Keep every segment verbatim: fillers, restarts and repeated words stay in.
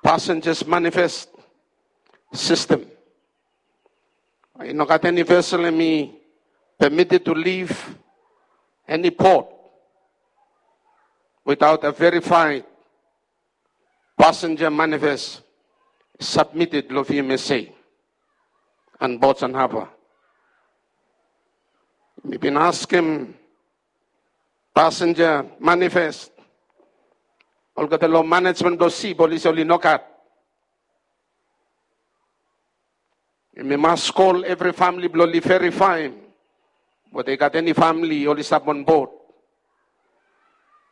Passengers manifest system. I no gat eni vesel hemi permitted to leave eni port without a verified passenger manifest submitted lo V M S A and Ports and Harbour. Mi bin askem passenger manifest, olgeta lo management blo sip oli se oli no gat. Yumi mas kol evri famili blo oli verifaem weta i gat eni famili oli stap on board.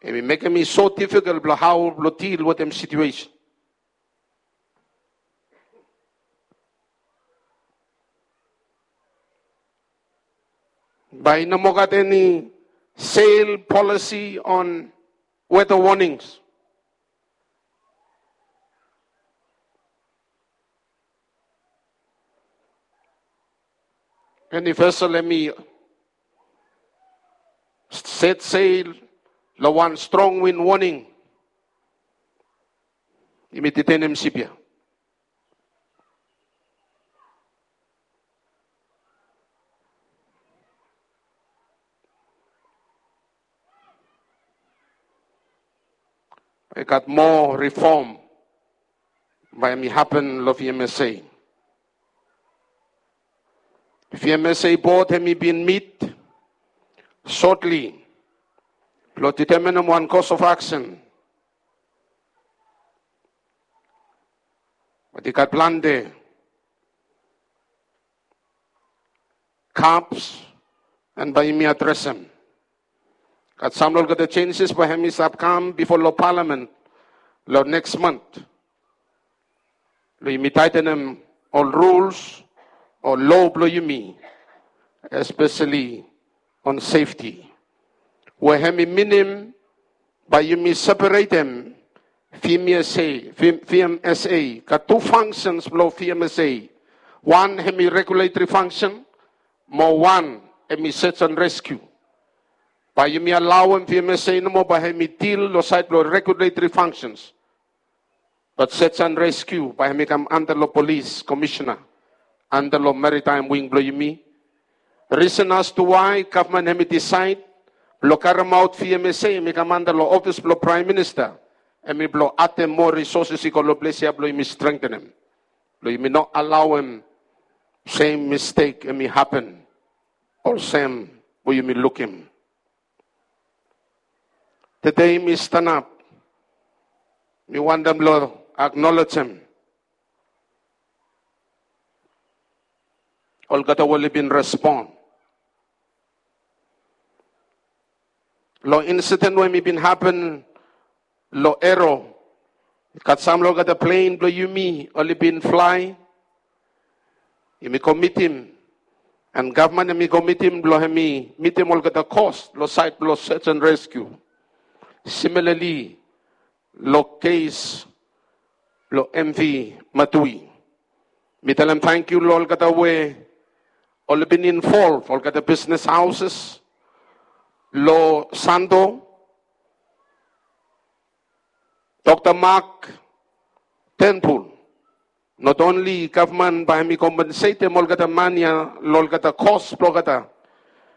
Hemi mekem i so difikol blo hao blo dil wetem situesen. Bae i no moa gat eni sail policy on weather warnings. Eni vesel hemi set sail lo wan strong wind warning, yumi ditenem sip ia. I gat moa rifom bae hemi hapen lo V M S A. V M S A board hemi bin mit sotli blo detemenem wan course of action. Bat i gat plante gaps, and bae yumi adresem. Gat sam lo olgeta changes bae hemi stap kam bifo lo palamen lo neks mant. Lo yumi taetenem ol rules o lo blo yumi, espeseli on safety. We hemi minim bae yumi separetem V M S A, V M S A, gat tu functions blo V M S A. Wan hemi regulatory function, mo wan hemi search and rescue. Bae yumi alaoem V M S A nomo bae hemi dil lo saed blo regulatory functions. Bat search and rescue bae hemi kam anda lo polis komisena, anda lo maritime wing blo yumi. Reason as to why gavman hemi disaed blo karemaot V M S A hemi kam anda lo ofis blo praem minista, hemi blo adem moa resources i go lo ples ia blo yumi strengtenem, blo yumi no alaoem sem mistake hemi hapen olsem we yumi lukim. Tede mi stanap, mi wantem blo aknolejem olgeta we oli bin respon lo insiden we hemi bin hapen lo Ero. Gat sam lo olgeta plen blo yumi oli bin flae. Yumi go mitim, and gavman hemi go mitim blo hemi mitim olgeta kos lo saed blo search and rescue. Similarly lo kes blo M V Matui, mi talem tangkiu lo olgeta we oli bin involve, olgeta business houses lo Santo, Doctor Mark Turnbull. Not only gavman bae hemi kompensetem olgeta man ia lo olgeta kos blo olgeta,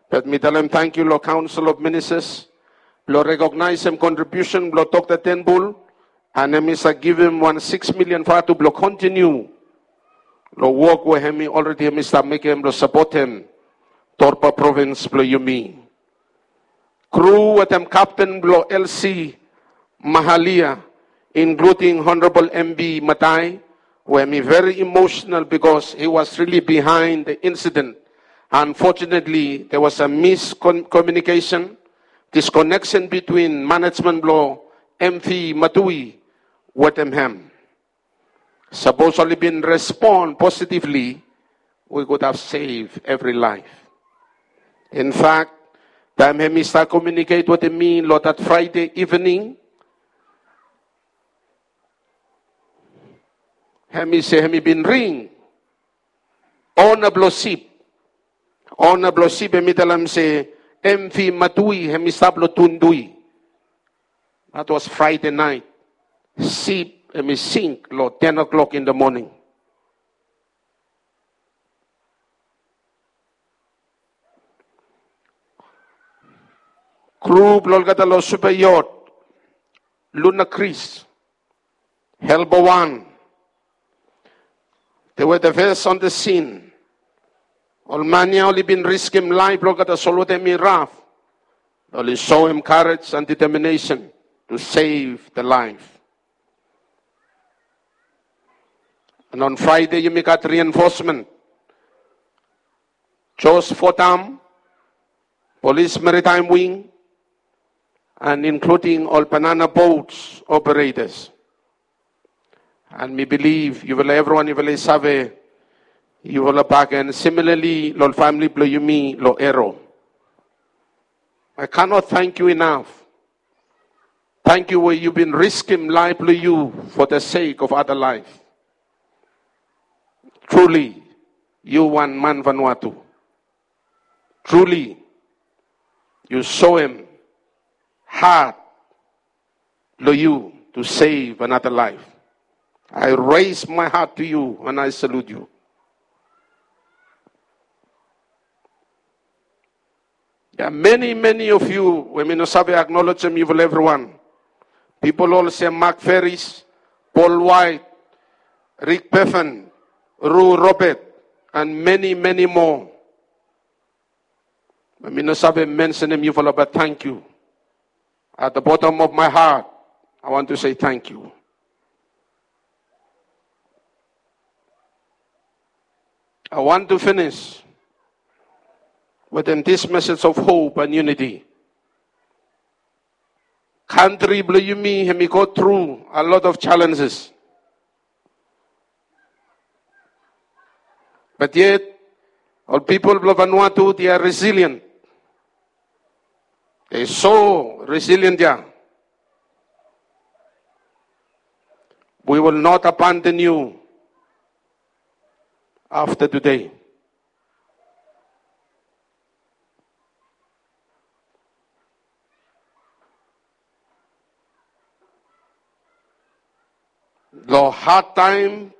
bat mi talem tangkiu lo Council of Ministers blo rekognaesem kontribiusen blo Doctor Turnbull, and hemi save givim wan sikis milian vatu blo kontiniu lo wok we hemi already hemi stap mekem blo sapotem Torba provins blo yumi. Kru wetem kapten blo L C Mahalia, including Honorable M B Matai, we hemi very emotional because he was really behind the incident. Unfortunately, there was a miscommunication, disconnection between management blo M V Matui wetem hem. Sapos oli bin respon positively, we could have saved every life. In fact, taem hemi stap komiuniket wetem mi lo that Friday evening, hemi se hemi bin ring ona blo sip. Ona blo sip hemi talem se M V Matui hemi stap lo Tundui. That was Friday night. Sip hemi sink long ten o'clock in the morning. Kru blong olgeta long super yacht, Luna Chris, Helbo Wan, they were the first on the scene. Ol man ya oli bin riskim laef blong olgeta solwota hemi raf. Oli soem courage and determination to save the life. And on Friday yumi gat reinforcement. Jos Fotam, Police Maritime Wing, and including ol banana boats operators. And mi bilif yufala evriwan yufala i save yufala bakegen, similarly long famili blong yumi long Ero. I cannot thank you enough. Tangkiu we yu bin riskim laef blong yu for the sake of other life. Truly, yu wan man Vanuatu. Truly, yu soem hat blong yu to save another life. I raise my hat to you and I salute you. There are many, many of you we mi no save aknolejem yufala evriwan. Pipol olsem Mark Ferris, Paul White, Rick Peffen, Ru Robert, and many, many more. We mi no save mensenem yufala, but tangkiu. At the bottom of my heart, I want to say thank you. I want to finish within this message of hope and unity. Kantri blong yumi hemi go tru a lot of challenges. But yet, ol pipol blong Vanuatu, they are resilient. They so resilient ya. We will not abandon you after today. Long had taem